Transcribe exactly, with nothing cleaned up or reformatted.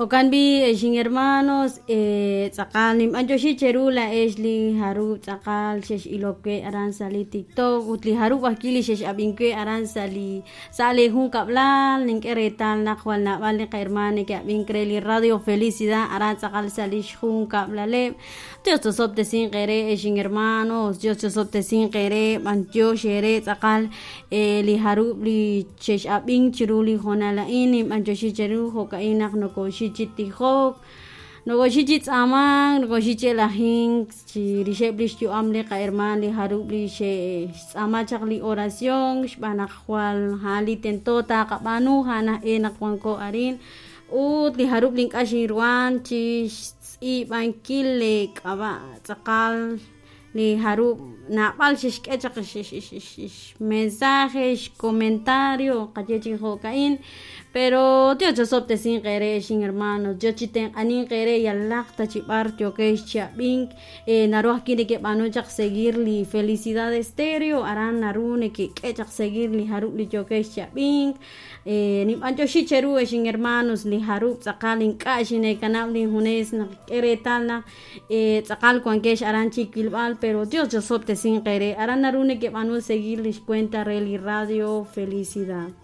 Jo'kan b'i' ex inhermanos tz'aqal ninb'antioxi cheru laa'ex li jarub' tz'aqal xex'ilok we aran sa' li TikTok ut li jarub' ajwi' li xex'ab'ink we aran sa' li sa' li junkab'lal nink'e reetal naq jwal naab'al li qahermaan neke'ab'ink re li Radio Felicidad aran tz'aqal sa' li xjunkab'laleb' Dios tosob'tesinq eere ex inhermanos Dios tosob'tesinq eere b'antiox eere tz'aqal li jarub' li xex'ab'ink chiru li hoonal a'in ninb'antioxi cheru jo'ka'in naq nokoxik chi tijok nokoxik chi tz'aamank nokoxik chi elajink chirixeb' li xyu'am li qahermaan li jarub' li xe'xtz'aama chaq li oración xb'aan naq jwal a'an li tento taqab'aanu a'an aj e naq wanko arin ut li jarub' li ink'a' xinruhan chi xtz'iib'ankil li k'ab'a' tz'aqal li jarub' naab'al xexk'e chaq xmensaje xcomentario qaye chi jo'ka'in pero Dios chosob'tesinq eere ex inhermanos Dios chitenq'aninq eere yalaq ta chi b'ar yookex chi ab'ink naru ajwi' nekeb'aanu chaq seguir li Felicidad Estéreo aran naru nekek'e chaq seguir li jarub' li yookex chi ab'ink ninb'antioxi cheru ex inhermanos li jarub' tz'aqal ink'a' xineekanab' linjunes naq k'e reetal naq tz'aqal wankex aran chi wilb'al pero Dios chosob'tesinq eere aran naru nekeb'aanu seguir lix cuenta re li Radio Felicidad.